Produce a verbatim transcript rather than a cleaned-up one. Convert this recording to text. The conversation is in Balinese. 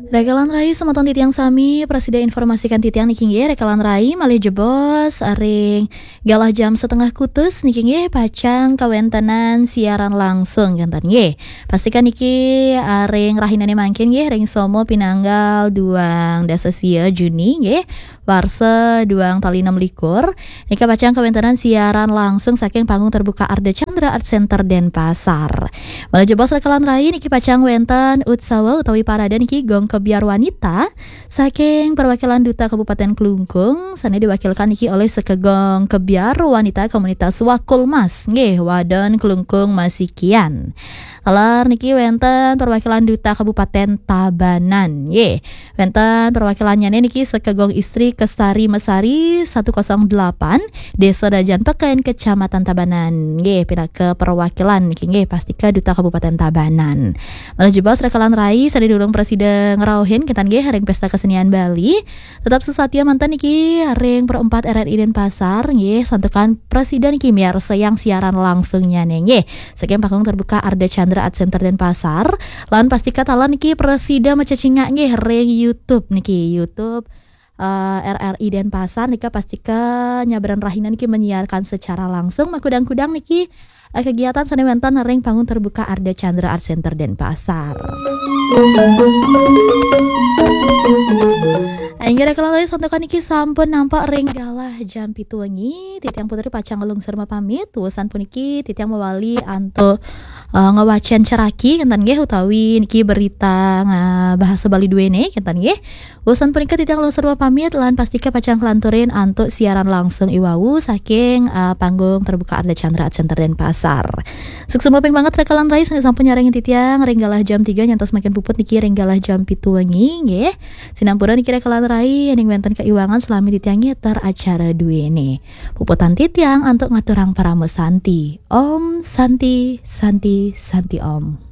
Rakalan rai semeton titiang sami, prasida informasikan titiang niki nggih, rakalan rai malih jebos ring galah jam setengah kutus niki nggih pacang kawéntenan siaran langsung kénten nggih. Pastikan niki, ah, ring rahinane mangkin nggih, ring Somo pinanggal duang dasa sia Juni nggih, warsa duang tali enam likur. Nika pacang kawéntenan siaran langsung saking Panggung Terbuka Ardha Candra Art Center Denpasar. Malih jebos rakalan rai niki pacang wénten utsawa utawi parade niki Gong Kebyar Wanita saking perwakilan Duta Kabupaten Klungkung, sane diwakilkan niki oleh Sekegong Kebyar Wanita Komunitas Wakulmas nggih, Wadon Klungkung Masikian. Taler niki wénten perwakilan Duta Kabupaten Tabanan nggih. Wénten perwakilannyane niki Sekegong Istri Kestari Mesari satu kosong delapan, Desa Dajan Peken, Kecamatan Tabanan. Nggih, pinaka perwakilan niki nggih, pastika Duta Kabupaten Tabanan. Malih jebos rakalan rai sane durung prasida ngrauhin kénten nggih ring Pesta Kesenian Bali. Tetap sesatia manten niki ring Pro empat R R I Denpasar nggih, santukan prasida niki miarsayang siaran langsungnyane nggih. Saking Panggung Terbuka Ardha Candra Art Center Denpasar. Lan pastika taler niki prasida macecingak nggih ring YouTube niki, YouTube, eh, R R I Denpasar nika pastika nyabran rahina niki menyiarkan secara langsung makudang-kudang niki, eh, kegiatan sane wénten ring Panggung Terbuka Ardha Candra Art Center Denpasar. Inggih rakalan rai, santukan niki sampun nampak ring galah jam pitu wengi, titiang Putri pacang nglungsur mapamit. Wusan puniki titiang mawali antuk, eh, ngwacen ceraki kénten nggih, utawi niki berita nga-, bahasa Bali duene kénten nggih. Wusan punika titiang nglungsur mapamit lan pastika pacang nglanturin antuk siaran langsung iwau saking, eh, Panggung Terbuka Ardha Candra Art Center Denpasar. Suksma ping banget rakalan rai sane sampun nyarengin titiang ring galah jam tiga nyantos mangkin puput niki ring galah jam pitu wengi nggih. Sinampura niki rakalan rai, yening wénten kaiwangan salami titiang ngeter acara duene. Puputang titiang antuk ngaturang parama santi. Om Santi, Santi, Santi Om.